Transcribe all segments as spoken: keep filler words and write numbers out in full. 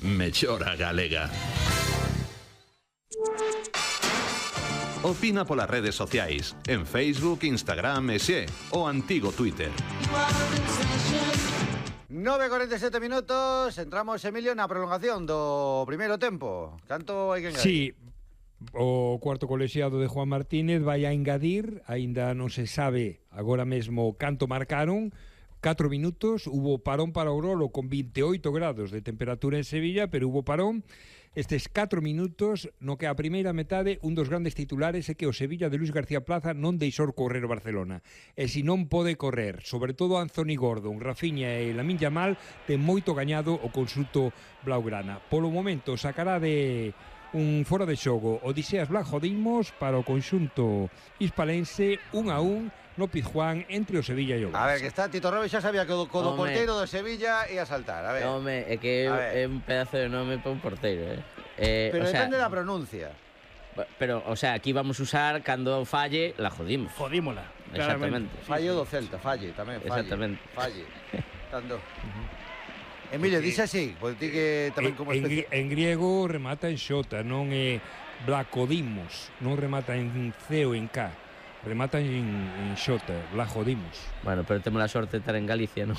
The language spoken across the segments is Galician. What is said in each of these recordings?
mellora galega. Opina polas redes sociais, en Facebook, Instagram e xe, o antigo Twitter. nove e corenta e sete minutos, entramos, Emilio, na prolongación do primeiro tempo. Canto hai que engadir? Sí, o cuarto colexiado de Juan Martínez vai a engadir, aínda non se sabe agora mesmo canto marcaron, catro minutos, hubo parón para o Grolo con vinte e oito grados de temperatura en Sevilla, pero hubo parón. Estes catro minutos, no que a primeira metade, un dos grandes titulares é que o Sevilla de Luis García Plaza non deixou correr o Barcelona. E se non pode correr, sobre todo Anthony Gordon, Rafinha e Lamine Yamal, ten moito gañado o conxunto blaugrana. Polo momento, sacará de un fora de xogo Odiseas Blancodimos para o conxunto hispalense, un a un no Pizjuán entre o Sevilla e o Barça. A ver, que está Tito Robles, xa sabía que o do porteiro do Sevilla ia saltar, a ver. Home, é que é un pedazo de nome para un porteiro, eh? eh pero o sea, depende da pronuncia. Pero, o sea, aquí vamos a usar cando falle, la jodimos. Jodímola. Exactamente. Falle do Celta, falle tamén, falle. Exactamente. Falle. Tando. Emilio, dixe así, porque ti que tamén como en, en griego remata en xota, non é Blacodimos, non remata en C ou en K, remata en, en xota, Blacodimos. Bueno, pero temos a sorte de estar en Galicia, non,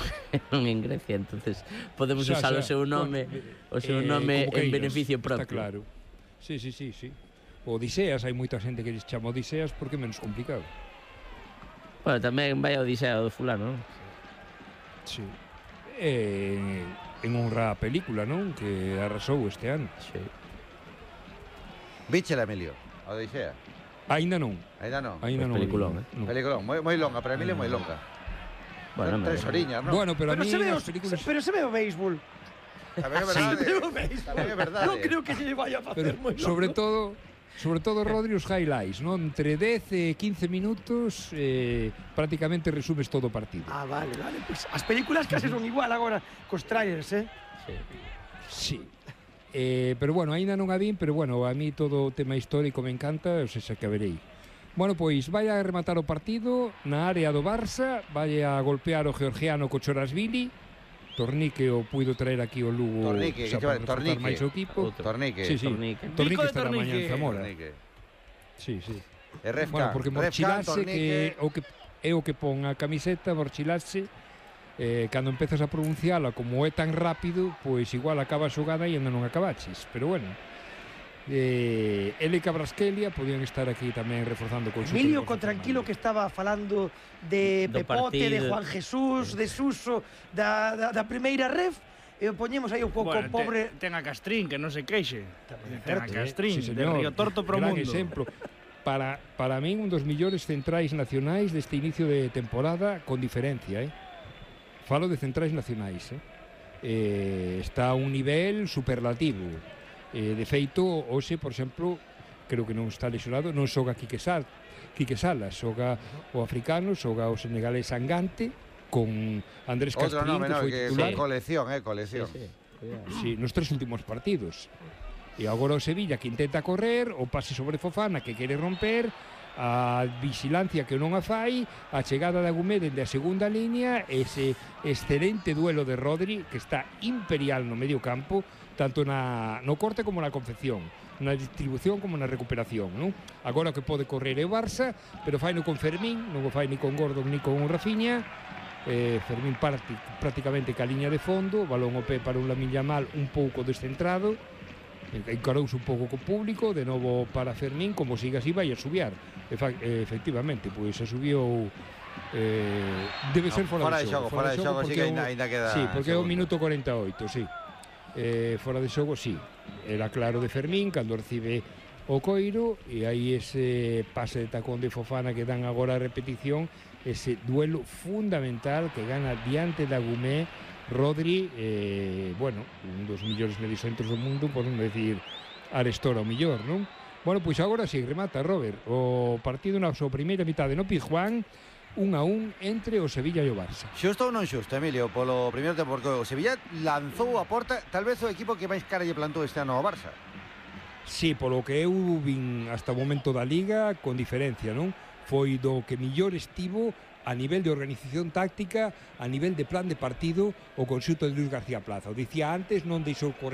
non en Grecia, entonces podemos xa, usar xa, o seu nome, o seu nome eh, en beneficio propio. Está claro. Sí, sí, sí, sí. O Odiseas, hai moita xente que les chama Odiseas porque é menos complicado. Bueno, tamén vai a Odisea do fulano, non? Sí. Eh, en honra a película, non? Que arrasou este ano. Sí. Víchela, Emilio, a Odisea? Ainda non. Ainda non? Ainda non. Peliculón, eh? No. Peliculón, moi, moi longa, para Emilio moi longa. Bueno, tres oriñas, non? Bueno, pero, pero a mí se ve as o, películas... pero se ve o béisbol. Tamén é verdade. Se ve o béisbol. Tamén é verdade. Non creo que se lle vaya a facer moi longo. Sobre todo... Sobre todo, Rodri, os highlights, non? Entre dez e quince minutos eh, prácticamente resumes todo o partido. Ah, vale, vale. Pues as películas case son igual agora cos trailers, eh? Sí. Sí. Eh, pero bueno, aínda non a vin, pero bueno, a mí todo o tema histórico me encanta, o sea, que a verei. Bueno, pois vai a rematar o partido na área do Barça, vai a golpear o georgiano Kochorashvili. Tornique o puido traer aquí o Lugo. Tornique, que vai, Tornique. máis o equipo. Tornique. Sí, sí. Tornique. Tornique Pico de estará mañá en Tornique. Zamora. Tornique. Sí, sí. E Refcan, Bueno, porque Refcan, morchilase que o que é o que pon a camiseta, morchilase, eh, cando empezas a pronunciala como é tan rápido, pois igual acaba a xogada e ainda non acabaches, pero bueno. Eh, ele e Cabrasquelia podían estar aquí tamén reforzando con Emilio, con tranquilo que estaba falando de Do Pepote, partido. de Juan Jesús, de Suso, da, da, da primeira ref, e poñemos aí un pouco bueno, pobre... Ten, ten a Castrín, que non se queixe. Tamén é Ten a certo. Castrín, Sí, de señor. Río Torto pro Gran mundo. exemplo. Para, para min, un dos millores centrais nacionais deste inicio de temporada, con diferencia, eh? Falo de centrais nacionais, eh? Eh, está a un nivel superlativo. Eh, de feito, hoxe, por exemplo, creo que non está lesionado, non xoga Quique, Sal, Quique Salas, xoga o africano, xoga o senegalés Angante, con Andrés Outro Castrín, nome, que no, foi que titular. colección, eh, colección. Sí, sí. Sí, nos tres últimos partidos. E agora o Sevilla que intenta correr, o pase sobre Fofana que quere romper, a vigilancia que non a fai, a chegada de Agumé dende a segunda línea, ese excelente duelo de Rodri que está imperial no medio campo, tanto na, no corte como na confección, na distribución como na recuperación, non? Agora que pode correr é o Barça, pero faino con Fermín, non o fai ni con Gordon ni con Rafinha. eh, Fermín parti, prácticamente ca liña de fondo, balón o pé para un Lamine Yamal un pouco descentrado, encarouse un pouco co público, de novo para Fermín, como siga así vai a subiar. Efa, efectivamente, pois se subiu, eh, debe ser fora, fora de xogo, fora de xogo, sí que é o- ainda queda. Sí, porque é o segundo. minuto cuarenta e oito, sí. Eh, fora de xogo, sí. Era claro de Fermín cando recibe o coiro, e aí ese pase de tacón de Fofana que dan agora a repetición, ese duelo fundamental que gana diante da Agumé Rodri, eh, bueno, un dos millores mediocentros do mundo, por non decir Arestora o millor, non? Bueno, pois agora si, sí, remata, Robert, o partido na súa primeira mitade no Pizjuán, un a un entre o Sevilla e o Barça. Xusto ou non xusto, Emilio, polo primeiro tempo, porque o Sevilla lanzou a porta, tal vez o equipo que máis cara lle plantou este ano ao Barça. Sí, polo que eu vin hasta o momento da Liga, con diferencia, non? Foi do que millor estivo a nivel de organización táctica, a nivel de plan de partido, o conxunto de Luis García Plaza. O dicía antes, non deixou correr